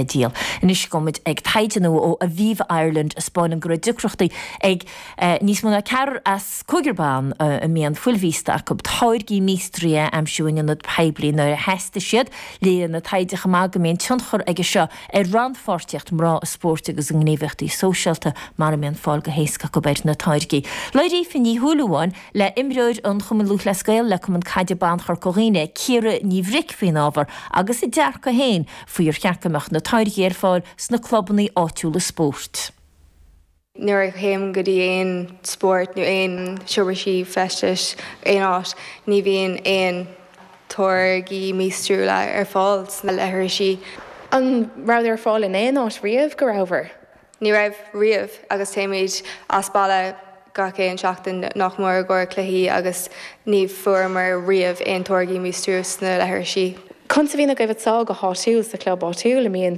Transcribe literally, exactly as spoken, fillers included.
Díol. Anois gabhfaimid ag taighde nua ó Aviva Ireland a 'spáineann go raibh deacrachtaí ag níos mó ná ceathrar as cúigear ban a mbíonn fuil mhíosta acu táirgí míostraithe a aimsiú in ionad poiblí nuair a theastaigh siad. Léirigh an taighde chomh maith go mbíonn tionchar aige seo ar rannpháirtíocht mná i spórt agus i ngníomhaíochtaí sóisialta mura mbíonn fáil go héasca acu ar na táirgí. Labhair Aoife Ní Shúilleabháin le imreoir an Chumainn Lúthchleas Gael le Cumann Caide Ban Chorca Dhuibhne, Ciara Ní Bhric faoin ábhar agus a dearcadh féin faoi ar cheart go mbeadh na táirgí ar fáil sna clubanna áitiúla spóirt. Nuair a théim go dtí aon spórt nó aon seomra feistis aon áit, ní bhíonn aon táirgí míostrúla ar fáil sna leithrisí. An raibh ar fáil in aon áit riamh go rabhar? Ní raibh riamh agus téimid as baile gach aon seachtain nach mór go cluichí agus ní fuaireamar riamh aon táirgí míostrú sna leithrisí. Conas a bhíonn agaibh sá go háitiúil sa chlub áitiúil a mbíonn